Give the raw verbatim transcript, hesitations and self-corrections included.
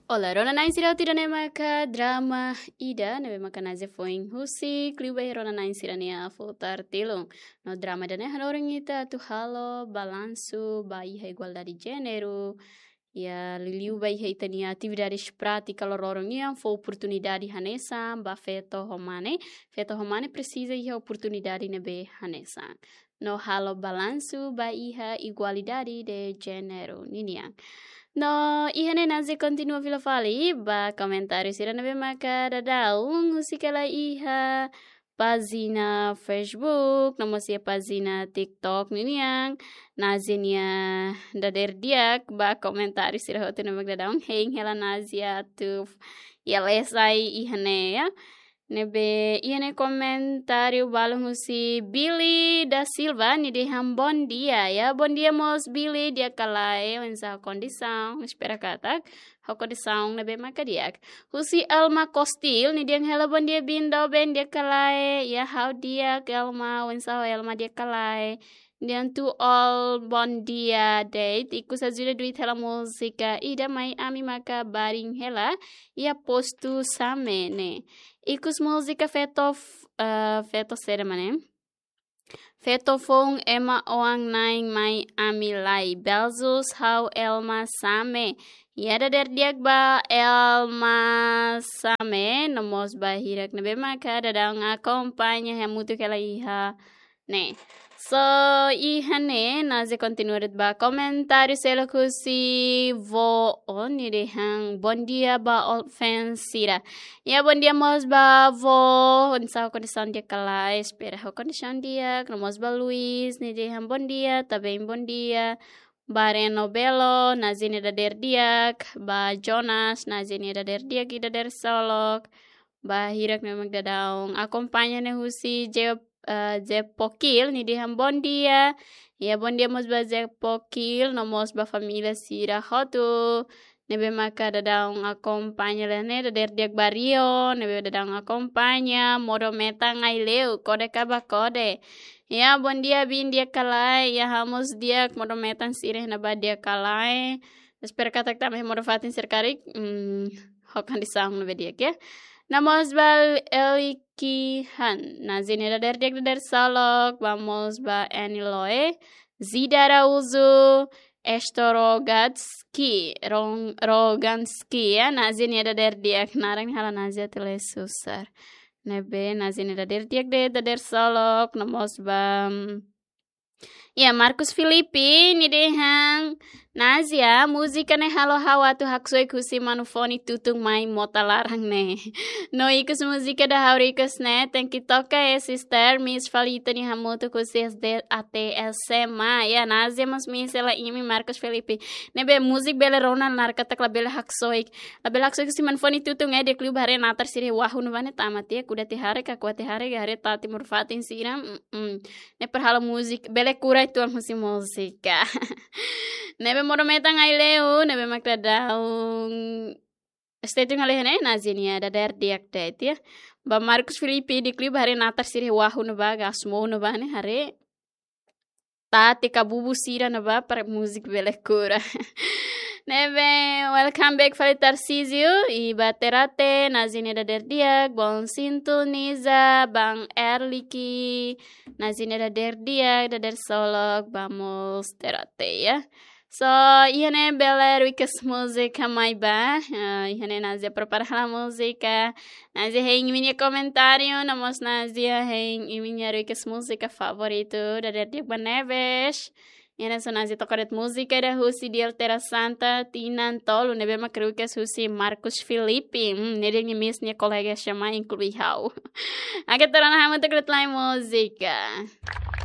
Olá, rona-na'in sira, ida-ne'e maka drama ida ne'ebé maka Nazia foin husik liu ba iha rona-na'in sira-nia futar tilun. No drama ida-ne'e hanorin ita atu halo balansu ba iha igualdade jéneru. Iha liuliu ba iha ita-nia atividades prátika loroloron nian, fó oportunidade hanesan ba feto ho mane, feto ho mane presiza iha oportunidade ne'ebé hanesan. No halo balansu ba iha igualdade de jéneru ninian. No iha ne'e Nazia kontinua fila fali ba komentáriu sira ne'ebé maka daudaun husik hela iha pájina Facebook, no mós iha pájina TikTok ninian. Nazia nia dadeer di'ak ba komentáriu sira hotu ne'ebé maka daudaun hein hela Nazia atu iha lesai iha ne'e, ya. Ne'ebé iha ne'e komentáriu balun husi Billy da Silva, nia dehan bom dia, ya. Bom dia mós Billy, di'ak ka lae, oinsá kondisaun, espera katak ho kondisaun ne'ebé maka di'ak. Husi Elma Kostil, nia dehan hela bom dia Biin, doben, di'ak ka lae, ya, ha'u di'ak Elma, oinsá ho Elma, di'ak ka lae. Dehan to all bom dia de'it, ikus ajuda duit hela múzika ida mai ami maka baring hela iha postu Same ne'e. Ikus múzika feto f-, eh, feto saida mak ne'e? Feto foun ema oan-na'in mai ami lai. Beijos, ha'u Elma Same. Ya, dadeer di'ak ba Elma Same, no mós ba hirak ne'ebé maka daudaun akompaña hamutuk hela iha ne'e. So, iha ne'e, Nazia kontinua de'it ba komentáriu seluk husi Vó On, nia dehan bom dia ba all fans sira. Ya, bom dia mós ba Vó, oinsá ho kondisaun di'ak ka lae, espera ho kondisaun di'ak, no mós ba Luis, nia dehan bom dia, também bom dia. Ba Reno Belo, Nazia nia dadeer di'ak, ba Jonas, Nazia nia dadeer di'ak i dadeer solok. Ba hirak ne'ebé mak daudaun akompaña ne'e husi Je-, eh, Jepokil, nia dehan bom dia. Ya, bom dia mós ba Jepokil, no mós ba família sira hotu ne'ebé maka daudaun akompaña hela ne'e, dadeer di'ak ba Rio, ne'ebé daudaun akompaña, modo metan Aileu, kode ka ba kode. Ya, bom dia Biin, di'ak ka lae, ya, ha'u mós di'ak, modo metan sira iha ne'ebá di'ak ka lae. Espera katak tanba modo fatin sira karik, mm, ho kondisaun ne'ebé di'ak, ya. No mós ba Eliki Han, Nazia nia dadeer di'ak, dadeer solok, ba mós ba Eni Loe, Zida Araújo, Esto Rogatski, Ron-, Roganski, ya, Nazia nia dadeer di'ak, naran halo Nazia tele susar. Ne'ebé Nazia nia dadeer di'ak de'it, dadeer solok, no mós ba, mm, ya, Marcos Filipe, nia dehan, Nazia, múzika ne'e halo ha'u atu haksoit husi manu fone tutun mai mota laran ne'e. No ikus múzika ida ha'u request ne'e, tenke toka, eh, sister, miss fali ita-nia hamutuk husi S D até S M A. Ya, Nazia mós miss hela imi, Marcos Filipe. Ne'ebé múzika bele rona, lae, katak labele haksoit. Labele haksoit husi manu fone tutun, eh, di'ak liu ba haree natar sira iha wahu ne'ebá ne'e, tama tiha, kuda tiha haree, ka kuat tiha haree, ka haree tati modo fatin sira. Mm-mm. Ne'e para halo múzika, bele kura uitoan husi múzika. Ne'ebé modo metan Aileu, ne'ebé mak daudaun stay tune hela iha ne'e, Nazia nia dadeer di'ak de'it, ya. Ba Marcos Filipe, di'ak liu ba haree natar sira iha wahu ne'ebá, gasmou ne'ebá ne'e, haree tati ka bubu sira ne'ebá para múzika bele kura. Ne'ebé, welcome back fali Tarcísio, i ba Terate, Nazia nia dadeer di'ak, bom sintonizar, ba Erliki, Nazia nia dadeer di'ak, dadeer solok, ba mós Terate, ya. So, iha ne'e bele request múzika mai ba, eh, iha ne'e Nazia prepara hela múzika, Nazia hein imi-nia komentáriu, no mós Nazia hein imi-nia request múzika favoritu, dadeer di'ak ba Neves. Iha ne'e so Nazia toka de'it múzika ida husi Diel Terra Santa, tinan tolu, ne'ebé mak request husi Marcos Filipe. Hmm, ne'e dehan nia miss nia kolega S M A, inklui ha'u. Oke, ita rona hamutuk de'it lai múzika.